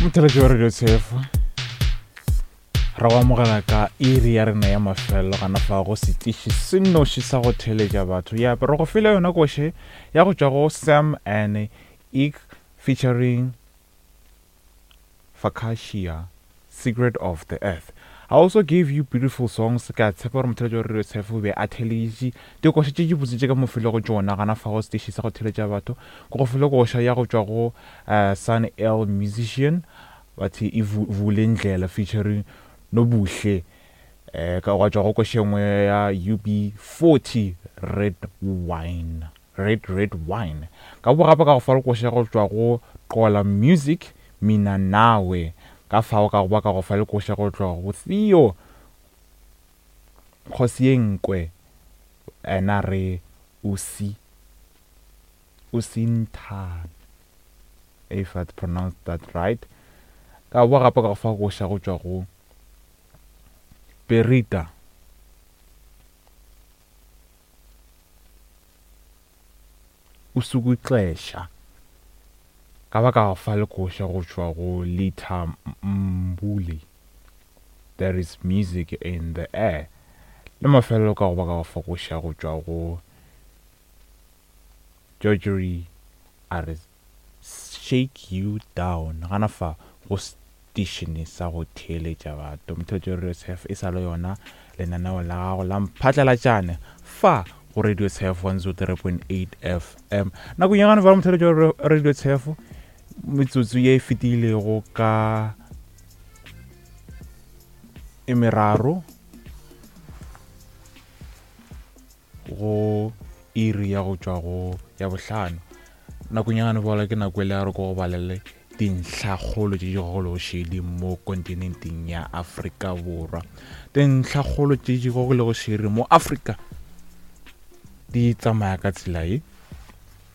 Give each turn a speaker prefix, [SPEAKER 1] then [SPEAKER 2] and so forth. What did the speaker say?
[SPEAKER 1] Motheletši wa Radio Tshefo re go amogela ka iri ya rena ya mafelelo gana fa go setiši se nnoši sa go theletša batho ya re go file yona koše ya go tšwa go Sam and Ik featuring Fakashia Secret of the Earth. I also gave you beautiful songs ke a tshepa gore motheletši wa Radio Tshefo o be a theleditše dikoša tše di botse tše ka mo filego tšona gana fa go setiši sa go theletša batho ke go file koša ya go tšwa go uh, Sun L Musician bathe e vule ndlela featuring Nobuhle eh, ka gwa tšwa go koša e nngwe ya UB40 Red Wine Red Red Wine ka bo gape ka go fa koša go tšwa go Qola Music Mina Nawe ka fao ka go ba ka go fa le koša go tšwa go Theo Kgosiengkwe ena re o si o sinthane if I pronounced that right ka bo gape ka go fa koša go tšwa go Perita Usukuxesha ka ba ka fa le koša go tšwa go Litha Mbuli There is music in the air le mafelelo ka go ba ka fa koša go tšwa go Georgery a re Shake You Down gana fa go seteišene sa go theeletša batho. Motheletši wa Radio Tshef e sa le yona lenaneo la gago la mphatlalatšane fa go Radio Tshef 103.8 FM. Nakong ya gane fa motheletši wa Radio Tshef metsotso ye e fetilego ka e meraro go iri ya go tšwa go ya bohlano. Nakong ya gane bola ke nako e le ya re ko go balele dintlhakgolo tše di gogilego šedi mo kontinenteng ya Afrika Borwa. Dintlhakgolo tše di gogilego šedi mo Afrika di tsamaya ka tsela ye.